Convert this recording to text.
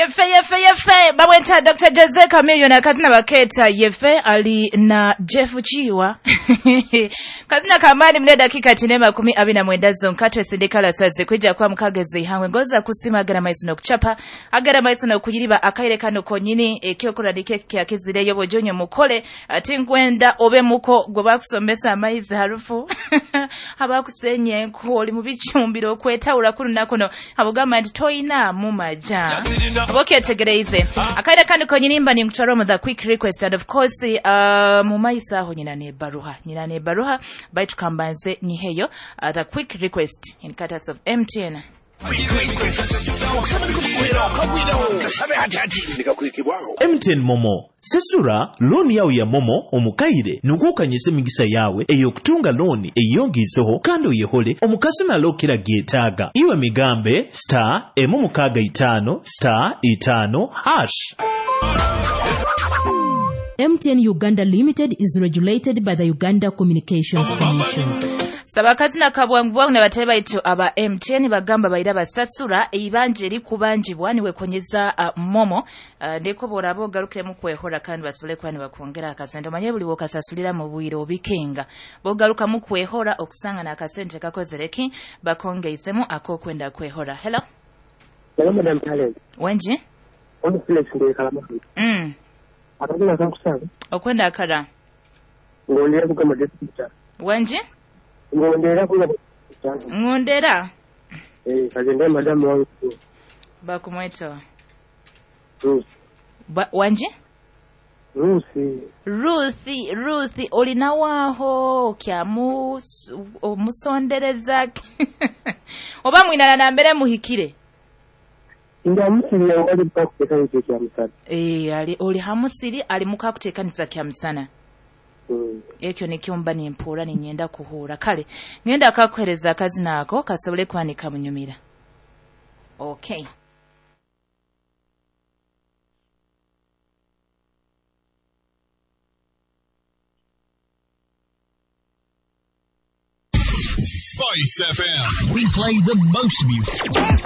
Yefe yefe yefe bamweta Dr. Jose Chameleone, akazina baketa yefe ali na Jeff Chiwa. Kazina kamani mne dakika 29 zonka twesindikala saze kwija kwa mukagezi ihangwe ngoza kusima agara maizi no kuchapa agara maizi no kuyiriba akaire kano konyini ekyokora dike kyakizireyo bojonyo mukole ati ngwenda obe muko gwe bakusomesa amaizi harufu abakusenye enku oli mu bicumbiro okwetawula kuno nakuno abugamba nti toyina mu maja obokyetegereize akaire kano konyini mba ninkutwara mu the quick request. And of course mu maiso aho nyina nebaruha baitu kambanze nyiheyo the quick request in cutters of MTN. MTN Momo sesura looni yawe ya Momo omukaire nukukanyisa emigisa yawe ey'okutunga looni eyongiiseho kandi oyehole omukasima lokira gyetaaga iwe migambe star 165 star 5 hash. MTN Uganda Limited is regulated by the Uganda Communications Commission. Sabakazina kabwangu bwangu nabatebe baitu aba MTN bagamba baira basasura eibanje erikubanjibwa niwe konyeza Momo ndeko borabo garukiremu kwehora kandi basobole kuba nibakwongera akasente. Omanye buli wokasasulira mu bwire obikenga bogaruka mu kwehora okusanga n'akasente kakozereki bakongeisemu akokwenda kwehora. Hello. Hello Madam Talent. Wenji? Ono Felix ndiye kalama. Akagula kankusaba. Okwenda akara. Ngondera kugamba deputy. Wenji? Ngondera kugamba. Ngondera? Kagende madamu wangu. Bakumweto. Ruth. Wanji? Ruth. Ruth olina waaho kyamu omusondereza oba mwinana nambere muhikire. Ndamusiri wali mukakuteekaniza kya musana. Ali oli hamusiri ali mukakuteekaniza kya musana. Ekyo nikyo mba nimpuura ninyenda kuhuura. Kale ngenda akakuhereza akazina ako kasobole kwanika munyumira. Okay. Spice FM. We play the most music.